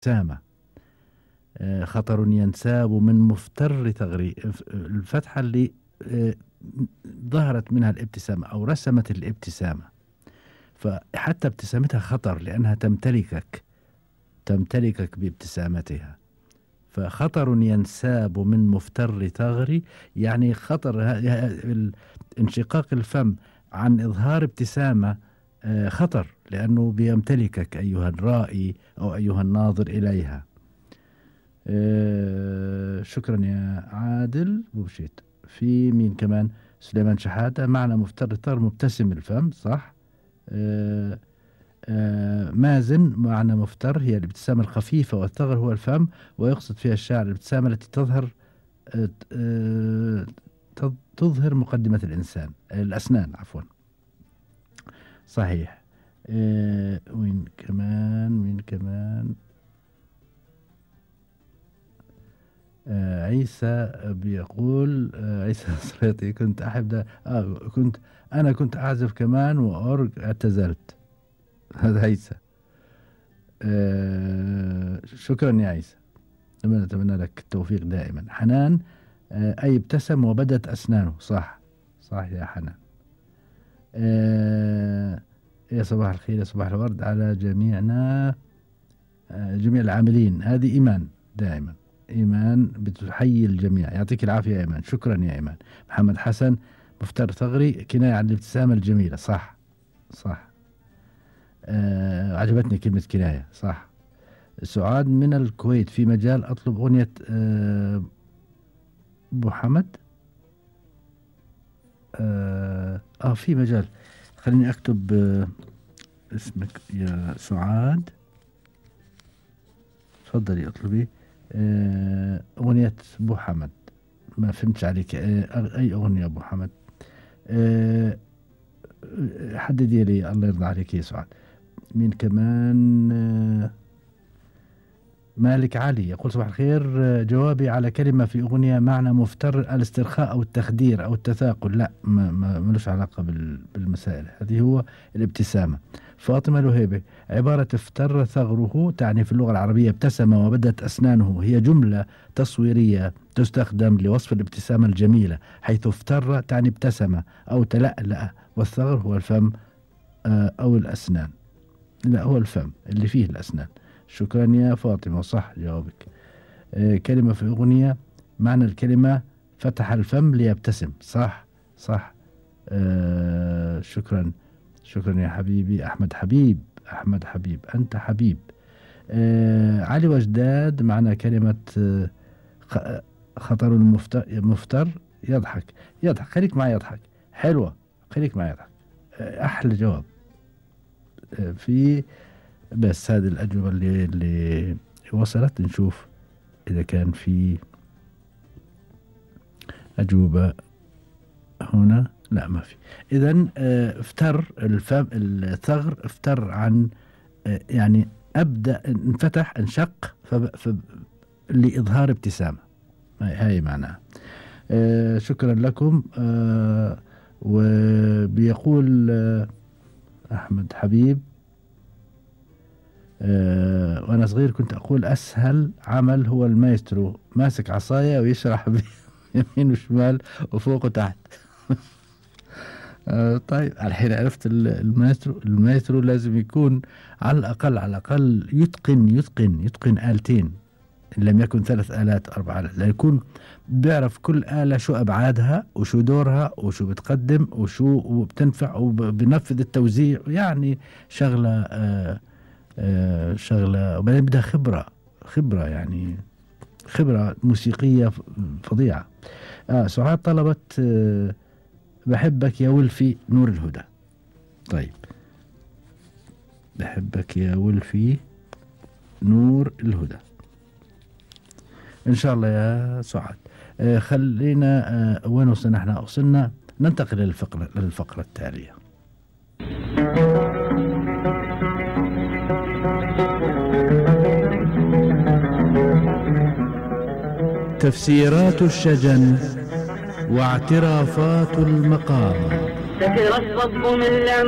الابتسامة. خطر ينساب من مفتر ثغري، الفتحة اللي ظهرت منها الابتسامة أو رسمت الابتسامة، فحتى ابتسامتها خطر لأنها تمتلكك بابتسامتها. فخطر ينساب من مفتر ثغري يعني خطر انشقاق الفم عن إظهار ابتسامة خطر، لأنه بيمتلكك أيها الرائي أو أيها الناظر إليها. شكرا يا عادل بوشيت. في مين كمان؟ سليمان شحاتة. معنى مفتر الثغر مبتسم الفم، صح. مازن. معنى مفتر هي الابتسامة الخفيفة والثغر هو الفم، ويقصد فيها الشاعر الابتسامة التي تظهر مقدمة الأسنان عفوا. صحيح. وين كمان عيسى بيقول عيسى صريطي كنت أحب كنت أعزف كمان وأورج اعتزلت. هذا عيسى. شكرا يا عيسى، أتمنى لك التوفيق دائما. حنان. أي ابتسم وبدت أسنانه، صح يا حنان. يا صباح الخير، يا صباح الورد على جميعنا، جميع العاملين. هذه إيمان، دائما إيمان بتحيي الجميع. يعطيك العافية يا إيمان. شكرا يا إيمان. محمد حسن. مفتر ثغري كناية عن الابتسامة الجميلة، صح. عجبتني كلمة كناية، صح. سعاد من الكويت. في مجال أطلب أغنية أبو حمد. في مجال، خليني أكتب اسمك يا سعاد. تفضلي اطلبي أغنية أبو حمد. ما فهمتش عليك، أي أغنية أبو حمد؟ حددي لي، الله يرضى عليك يا سعاد. مين كمان؟ مالك علي يقول صباح الخير، جوابي على كلمة في أغنية معنى مفتر الاسترخاء أو التخدير أو التثاقل. لا، ملوش علاقة بالمسائل هذه، هو الابتسامة. فاطمة لهيبة. عبارة افتر ثغره تعني في اللغة العربية ابتسم وبدت أسنانه، هي جملة تصويرية تستخدم لوصف الابتسامة الجميلة، حيث افتر تعني ابتسم أو تلألأ، والثغر هو الفم أو الأسنان. لا، هو الفم اللي فيه الأسنان. شكرا يا فاطمة، صح جوابك. كلمة في أغنية معنى الكلمة فتح الفم ليبتسم، صح. شكرا يا حبيبي أحمد حبيب أنت حبيب. علي وجداد. معنى كلمة خطر مفتر يضحك. خليك معي يضحك، حلوة، خليك معي يضحك، أحلى جواب. في بس هذه الأجوبة اللي وصلت. نشوف إذا كان في أجوبة هنا. لا، ما في. إذن افتر الفم، الثغر افتر عن يعني أبدأ انفتح، انشق لإظهار ابتسامة، هاي معناها. شكرا لكم. وبيقول أحمد حبيب، وأنا صغير كنت أقول أسهل عمل هو المايسترو، ماسك عصاية ويشرح يمين وشمال وفوق وتحت. طيب، الحين عرفت المايسترو لازم يكون على الأقل يتقن آلتين، إن لم يكن 3 آلات 4 آلات، يكون بيعرف كل آلة شو أبعادها وشو دورها وشو بتقدم وشو بتنفع وبنفذ التوزيع، يعني شغلة وبعدين بدها خبرة يعني خبرة موسيقية فظيعة. سعاد طلبت بحبك يا ولفي نور الهدى. طيب، بحبك يا ولفي نور الهدى إن شاء الله يا سعاد. خلينا وين وصلنا؟ احنا وصلنا ننتقل للفقرة التالية. تفسيرات الشجن واعترافات المقام. سكر الصب من